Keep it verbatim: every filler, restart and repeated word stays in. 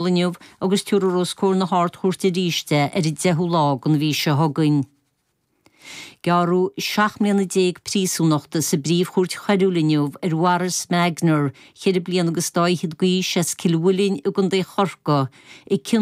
Inniu agus tabharfar os comhair na hArd-Chúirte arís é ar an deichiú lá den mhí seo chugainn. Gearradh seacht mbliana déag príosúnachta sa bPríomh-Chúirt Choiriúil inniu ar Mhaurice Magner, ceithre bliana agus dá fhichead d'aois as Cill Mhuilinn i gContae Chorcaí, i gcionn